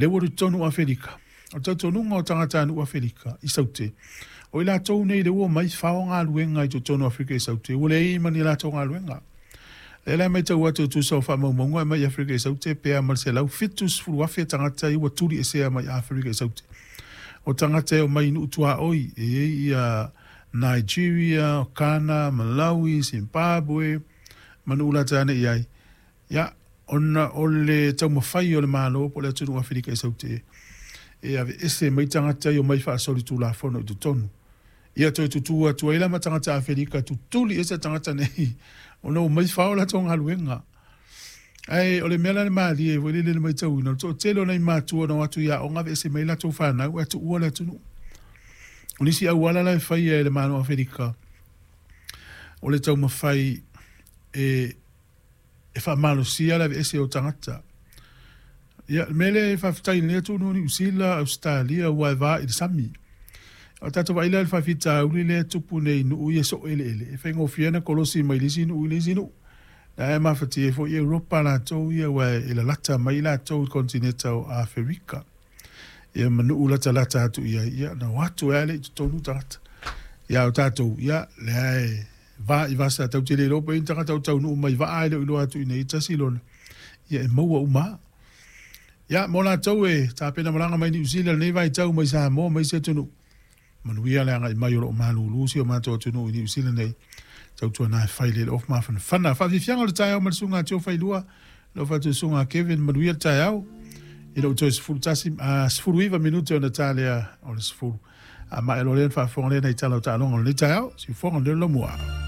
Lea ua alu i totonu o Afelika. O le talitonuga o tagatanuu Afelika i Saute, o i latou nei lea ua omai fao galuega i totonu o Aferika i Saute, ua leai ma ni a latou galuega. O lea la e matau atu e tusa o faamaumauga e aumai i Aferika i Saute pe a ma le 170,000 tagata ia ua tuliesea mai Aferika i Saute. O tagata e omai i nuu tuaoi e i ai ia Nigeria, Ghana, Malawi, Zimbabwe ma nuu lata ane i ai. Ia, ona o le taumafai o le Malo po o le atunuu o Aferika i Saute e aveese mai tagata ia omai faasolitulafono i totonu. Ia toe tutū atu ai la ma tagata Aferika tutuli ese tagata nei ona ua omai fao latou galuega. Ae o le mea la le malie foi lele i le matauina, o le toatele o nai matua na o atu i aoga aveese mai latou fanau ae tuua le atunuu. O nisi auala la e faia e le Malo o Aferika o le taumafai e e faamalosia le aveese o tagata. Ia, le mea lea e faafetai i lenei atunuu o Niu Sila, Ausetalia, aua e va i le sami. O tatou vaai la i le faafitauli lea e tupu nei i nuu ia e soo eleele, e faigofie ona kolosi mai le isi nuu i le isi nuu. La e mafatia ai foi Europa latou ia aua e lalata mai latou i le konitineta o Aferika. Ia ma nuu latalata atu i ai, ia na o atu ai lava lea i totonu tagata. Ia a o tatou, ia lea e Va i vasa, tatou te le iloa pe i ai ni tagata o taunuu mai vaa ae le o iloa atu i inei tasi lona, ia e maua uma lava. Ia, mo latou e tapena malaga mai Niu Sila i lenei vaitau mai Samoa ma isi atunuu, manuia le agai mai o lo o malulu si o matou atunuu i Niu Sila nei. Tautuana e fai le ofu mafanafana. Faafiafiaga o le taeao ma le susuga a Tio Failua, lau fatususuga a Kevin, manuia le taeao. I lou toe 11, 19 minute ona ta lea o le 10. A maea loa lea ona faafofoga lea i nai tala o taaloga o lenei taeao. Siufofoga o le Laumua.